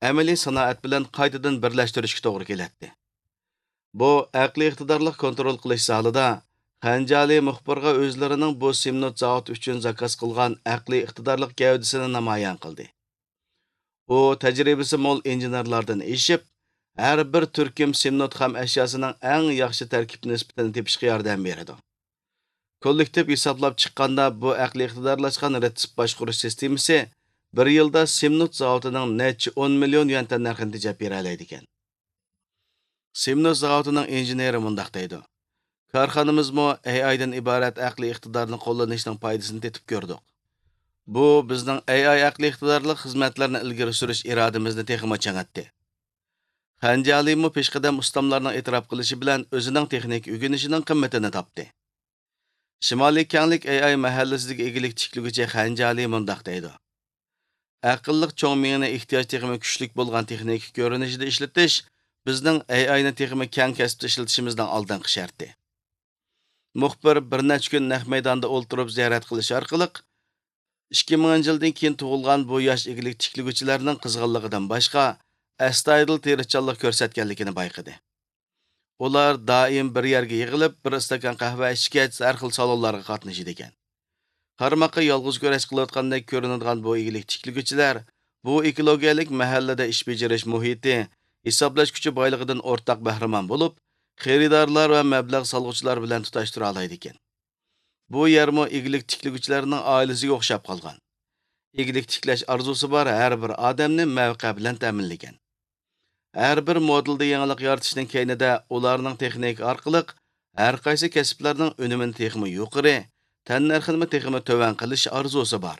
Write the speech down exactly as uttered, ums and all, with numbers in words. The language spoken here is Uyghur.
ئەمەلىي سانائەت بىلەن قايتىدىن بىرلەشتۈرۈشكە توغرا كېلەتتى. بۇ ئەقلىي ئىقتىدارلىق كونترول قىلىش زالىدا خەنجالى مۇخبىرغا ئۆزلىرىنىڭ بۇ سىمنوت زاۋۇتى ئۈچۈن زاكاز قىلغان ئەقلىي ئىقتىدارلىق گەۋدىسىنى نامايان قىلدى. ئۇ تەجرىبىسى مول ئىنژېنېرلاردىن ئېشىپ، ھەر بىر تۈركۈم سىمنوت خام ئەشياسىنىڭ ئەڭ ياخشى تەركىب نىسبىتىنى تېپىشقا ياردەم بېرىدۇ. كوللېكتىپ ھېسابلاپ چىققاندا، بۇ ئەقلىي ئىقتىدارلاشقان رېتسېپ باشقۇرۇش سىستېمىسى بىر يىلدا سىمنوت زاۋۇتىنىڭ نەچچە ئون مىليون يۈەن تەننەرخىنى تېجەپ بېرەلەيدىكەن. سىمنوس زاۋۇتىنىڭ ئىنژېنېرى مۇنداق دەيدۇ: كارخانىمىزمۇ ئېي ئايدىن ئىبارەت ئەقلىي ئىقتىدارنى قوللىنىشنىڭ پايدىسىنى تېتىپ كۆردۇق. بۇ بىزنىڭ ئېي ئاي ئەقلىي ئىقتىدارلىق خىزمەتلەرنى ئىلگىرى سۈرۈش ئىرادىمىزنى تېخىمۇ چىڭىتتى. خەنجالىمۇ پېشقەدەم ئۇستاملارنىڭ ئېتىراپ قىلىشى بىلەن ئۆزىنىڭ تېخنىكا ئۆگىنىشىنىڭ قىممىتىنى تاپتى. شىمالىي كەڭلىك ئېي ئاي مەھەللىسىدىكى ئىگىلىك تىكلىگۈچى خەنجالى مۇنداق دەيدۇ: ئەقىللىق چوڭ مېڭىنى ئېھتىياج تېخىمۇ كۈچلۈك بولغان تېخنىكا كۆرۈنۈشىدە ئىشلىتىش بىزنىڭ ئېي ئاينى تېخىمۇ كەڭ كەسىپتە ئىشلىتىشىمىزنىڭ ئالدىنقى شەرتى. مۇخبىر بىر نەچچە كۈن نەق مەيداندا ئولتۇرۇپ زىيارەت قىلىش ئارقىلىق، ئىككى مىڭىنچى يىلدىن كېيىن تۇغۇلغان بۇ ياش ئىگىلىك تىكلىگۈچىلەرنىڭ قىزغىنلىقىدىن باشقا، ئەستايىدىل تىرىشچانلىق كۆرسەتكەنلىكىنى بايقىدى. ئۇلار دائىم بىر يەرگە يىغىلىپ، بىر ئىستاكان قەھۋە ئىچكەچ، ھەر خىل سالونلارغا قاتنىشىدىكەن. قارىماققا يالغۇز كۈرەش قىلىۋاتقاندەك كۆرۈنىدىغان بۇ ئىگىلىك تىكلىگۈچىلەر بۇ ئېكولوگىيەلىك مەھەللىدە ئىش بېجىرىش مۇھىتى، ھېسابلاش كۈچى بايلىقىدىن ئورتاق بەھرىمەن بولۇپ، خېرىدارلار ۋە مەبلەغ سالغۇچىلار بىلەن تۇتاشتۇرالايدىكەن. بۇ يەرمۇ ئىگىلىك تىكلىگۈچىلەرنىڭ ئائىلىسىگە ئوخشاپ قالغان. ئىگىلىك تىكلەش ئارزۇسى بار ھەر بىر ئادەمنى مەۋقە بىلەن تەمىنلىگەن. ھەر بىر مودېلدا يېڭىلىق يارىتىشنىڭ كەينىدە ئۇلارنىڭ تېخنىكا ئارقىلىق ھەر قايسى كەسىپلەرنىڭ ئۈنۈمىنى تېخىمۇ يۇقىرى، تەننەرخىنىمۇ تېخىمۇ تۆۋەن قىلىش ئارزۇسى بار.